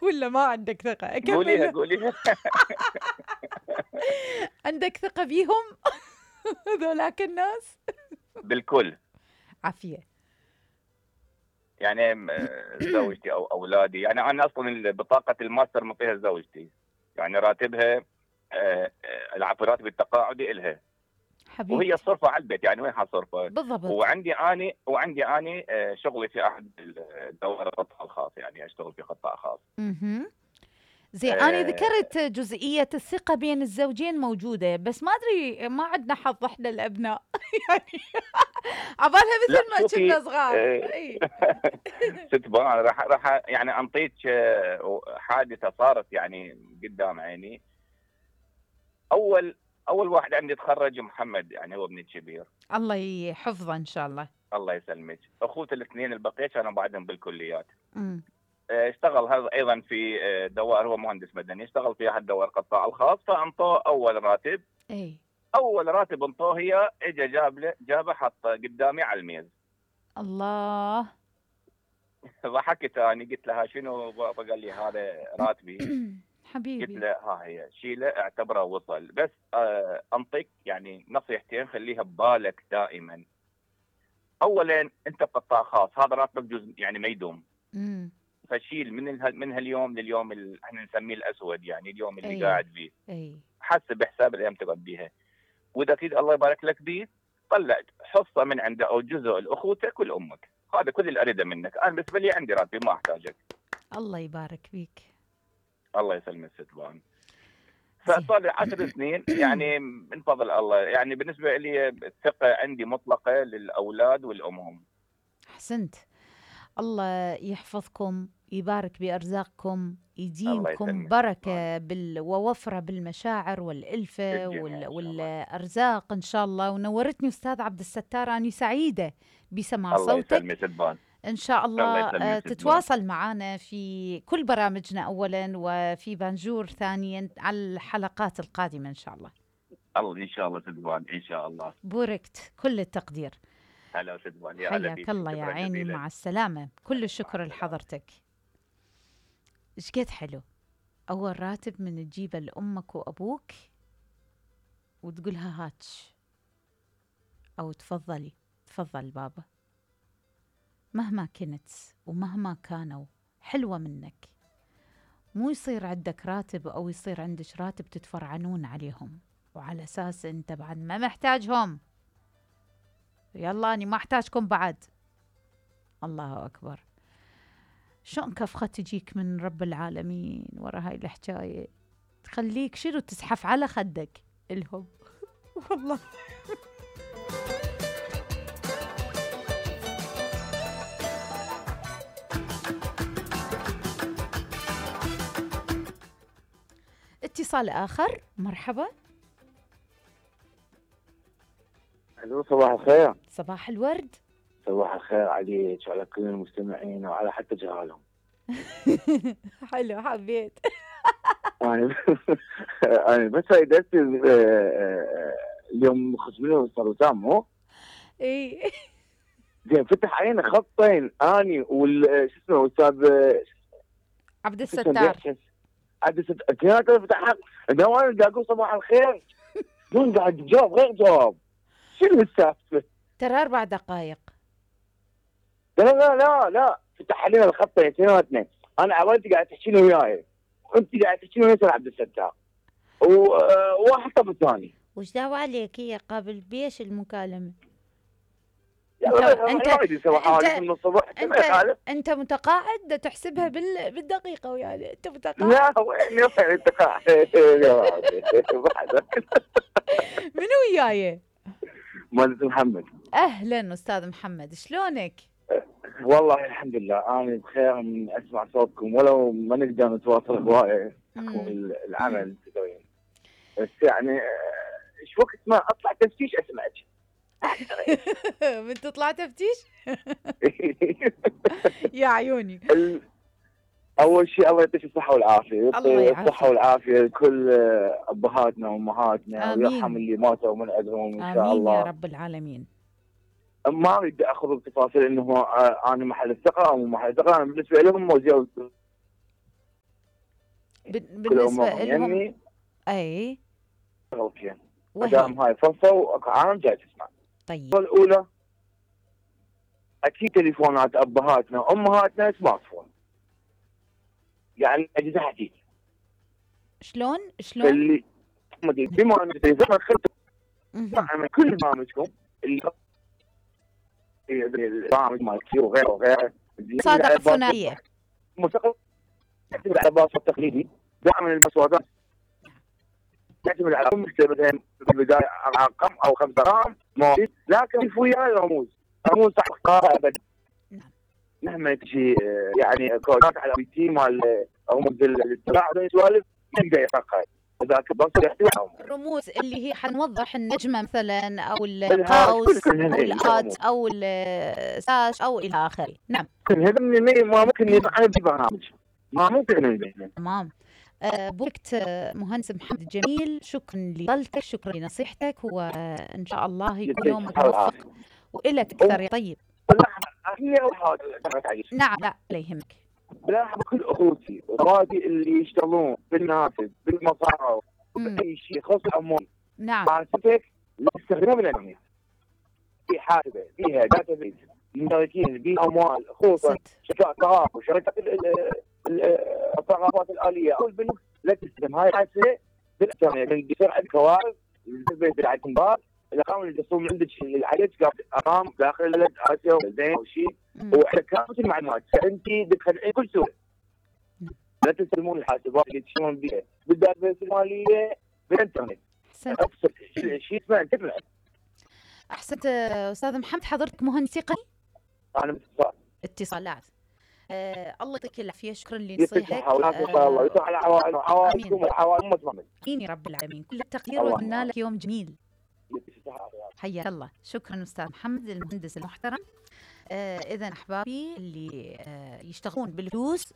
ولا ما عندك ثقة؟ قوليها أكمل. قوليها. عندك ثقة بيهم ذولاك الناس؟ بالكل. عافية. يعني زوجتي او اولادي، يعني انا اصلا بطاقه الماستر مطيها زوجتي، يعني راتبها راتب التقاعدي الها، وهي حبيبتي. صرفه على البيت، يعني وين حصرفه؟ بالضبط. وعندي اني شغلي في احد الدوائر القطاع الخاص، يعني اشتغل في قطاع خاص. زي أنا ذكرت جزئية الثقة بين الزوجين موجودة، بس ما أدري ما عندنا حظ إحنا الأبناء يعني عبالها لا مثل ما شوفي، كنا صغار. اي ست بان راح يعني انطيك حادثه صارت يعني قدام عيني. اول واحد عندي تخرج محمد، يعني هو ابني الكبير، الله يحفظه إن شاء الله. الله يسلمك. اخوته الاثنين البقيه كانوا بعدهم بالكليات. امم اشتغل هذا ايضا في دوائر، هو مهندس مدني، اشتغل في احد دوائر القطاع الخاص، فانطوه اول راتب. اي اول راتب انطوه هي اجى جابه حطه قدامي على الميز. الله. ضحكت اني، قلت لها شنو بابا؟ قال لي هذا راتبي. قلت حبيبي. له ها هي شيله اعتبره وصل، بس انطيك يعني نصيحتين خليها ببالك دائما. اولا انت بقطاع خاص، هذا راتبك جزء يعني ما يدوم. فشيل من هاليوم لليوم احنا نسميه الاسود، يعني اليوم اللي قاعد فيه. حسب حساب الايام تقعد بيها، واذا تريد الله يبارك لك بيه طلع حصه من عنده او جزء لاخوتك ولامك. هذا كل اللي اريده منك. انا بالنسبه لي عندي راتبي ما احتاجك. الله يبارك فيك. الله يسلمك ست بان. فصار لي 10 سنين يعني من فضل الله، يعني بالنسبه لي الثقه عندي مطلقه للاولاد والامهم. احسنت. الله يحفظكم، يبارك بأرزاقكم، يديمكم بركة ووفرة بالمشاعر والألفة والأرزاق إن شاء الله. ونورتني أستاذ عبد الستار، أنا سعيدة بسماع صوتك. إن شاء الله تتواصل معنا في كل برامجنا أولا، وفي بانجور ثانيا على الحلقات القادمة إن شاء الله. الله إن شاء الله سدبان إن شاء الله. بوركت، كل التقدير. هلا سدبان، يا حياك الله يا عيني، مع السلامة. كل الشكر لحضرتك. إيش قد حلو أول راتب من تجيبه لأمك وأبوك وتقولها هاتش، أو تفضلي تفضل بابا، مهما كنت ومهما كانوا حلوة منك. مو يصير عندك راتب أو يصير عندك راتب تتفرعنون عليهم وعلى أساس أنت بعد ما محتاجهم. يلا أنا ما أحتاجكم بعد. الله أكبر. شلون كفخة تجيك من رب العالمين ورا هاي الحكاية، تخليك شنو تزحف على خدك الهم والله. اتصال آخر، مرحبا. الو صباح الخير. صباح الورد. صباح الخير عليك وعلى كل المستمعين وعلى حتى جهالهم. حلو، حبيت. انا بس درت اليوم خصمنا صار وسام مو؟ اي زين فتح عينه خطين اني شو اسمه استاذ عبد الستار. عبد الستار كانت فتح انا وانا قاعد اقول صباح الخير دون قاعد جواب غير جواب. شنو السالفه؟ ترى 4 دقائق. لا لا لا لا فتح علينا الخطين اثنيناتنا. انا عوالتي قاعد تحكينا وياي وانت قاعد تحكينا ويا عبد الستار وواحد طب الثاني. وش دعوة عليك؟ هي قابل بيش المكالمة. انت متقاعد تحسبها بالدقيقة وياي. انت متقاعد. لا وين انت قاعد. منو وياي؟ مهندس محمد. اهلا استاذ محمد، شلونك؟ والله الحمد لله انا بخير من اسمع صوتكم، ولو ما نقدر نتواصل هوايه بحكم العمل تدرين، بس يعني ايش وقت ما اطلع تفتيش اسمعك. من تطلع تفتيش؟ يا عيوني. اول شيء الله يعطيك الصحه والعافيه، يعطي الصحه والعافيه لكل ابهاتنا وامهاتنا، ويرحم اللي ماتوا من عندهم ان شاء الله. امين يا رب العالمين. ما اريد اخذ بتفاصيل انه انا محل الثقه او مو محل الثقه. انا بالنسبه لهم موزي بالنسبة لهم اي اوكي مدام هاي فرصه وعام جاي تسمع. طيب الاولى اكيد تليفونات ابهاتنا وامهاتنا سمارت فون، يعني اجهزه حديثه. شلون اللي بما ان التليفون خلت مع كل برامجكم اللي البرامج مال كيو وغيره صادق ثنائيه مستقل يعتمد على الباسورد التقليدي. دائما الباسوردات يعتمد على مكتبتها في البدايه رقم او 5 ارقام موجود، لكن في وياي رموز صح اختارها ابدا. مهما تجي يعني كودات على بي تي مال رموز الاتباع هذول السوالف يقدر يفقها ذاك الباسورد يحتوي الرموز اللي هي حنوضح النجمه مثلا او القوس او الات او الساش او الى اخره. نعم هذا ما ممكن يفعل ببرنامج، ما ممكن. تمام. بوقت مهندس محمد جميل، شكرا لطلتك، شكرا لنصيحتك، وان شاء الله يكون يومك موفق والك اكثر يا طيب. نعم لا يهمك. بلاحظ كل اخوتي واخواتي اللي يشتغلون بالنافذ بالمصارف باي شيء يخص الاموال. نعم حاسبك لاستخدام الانترنت في حاسبه فيها داتا بيز مشتركين بالاموال، خصوصا شركات الطاقه وشركات الطاقات الاليه او البنوك. لا تستخدم هاي الحاسبه بالانترنت، يصير عندك كوارث بالنسبه للكمبار. الارقام اللي تصوم عندك اللي عليك ارقام داخل البلد اسيا زين او شيء وعلى كافه المعلومات، فانت تدخل كل سوء. لا تستلمون الحاسبات اللي تشتغلون بها بالداتابيس الماليه بالانترنت. شيء اسمه انترنت. احسنت استاذ محمد. حضرتك مهندس تقني؟ انا اتصالات. الله يعطيك العافيه، شكرا لنصيحتك. الله يسعد على عوائلكم وعوائل امه. امين يا رب العالمين. كل التقدير واتمنى لك يوم جميل. حياك الله. شكرا استاذ محمد المهندس المحترم. اذا احبابي اللي يشتغلون بالفلوس،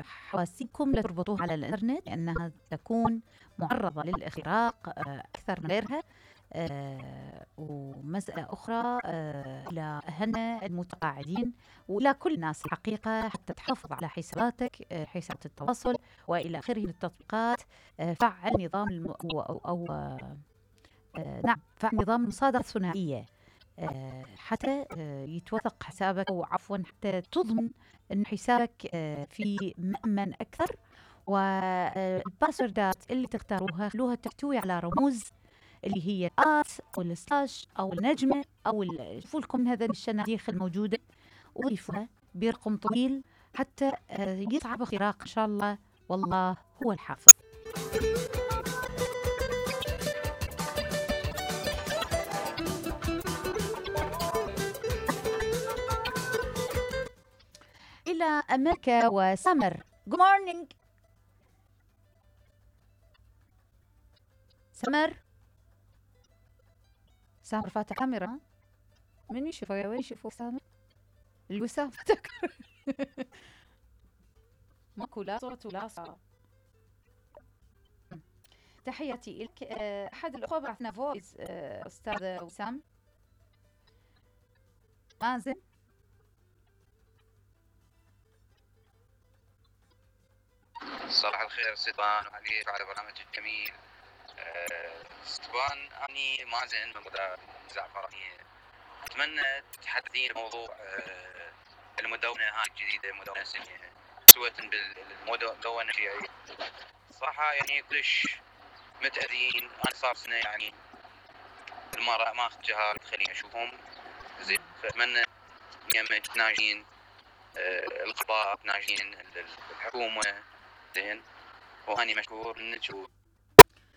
حواسيبكم لا تربطوها على الانترنت لانها تكون معرضه للاختراق اكثر من غيرها. ومسألة أخرى إلى أهلنا المتقاعدين وإلى كل الناس الحقيقة، حتى تحافظ على حساباتك، حسابات التواصل وإلى آخره من التطبيقات. فعل نظام نعم فعل نظام المصادرة الثنائية حتى يتوثق حسابك، أو عفوا حتى تضمن أن حسابك في مأمن أكثر. والباسوردات اللي تختاروها خلوها تحتوي على رموز اللي هي الآت أو السلاش أو النجمة أو شوفوا لكم هذا الشناديخ الموجودة، وضيفوها برقم طويل حتى يصعب اختراق إن شاء الله، والله هو الحافظ. إلى أمريكا وسمر. Good morning سامر فاتح كاميرا. من يشوفه يا وين يشوفه سامر؟ الوسام فتك ماكو لا صوت ولا صار. تحياتي لك. أحد الأخوة بعثنا فويس أستاذ وسام. مازن صباح الخير ستبان وعليك وعلى برنامج الجميل. ستبان أني مازن من مدار زعفرانية. أتمنى تحدثين موضوع المدونة هاي الجديدة، مدونة سنية سوة بالمدونة الشيعية. صراحة يعني كلش متأذين. أنا صار سنة يعني المرأة ما أخذ جهال تخليني أشوفهم زين، فأتمنى يم تناجين القضاء، تناجين الحكومة زين، وهاني مشكور منك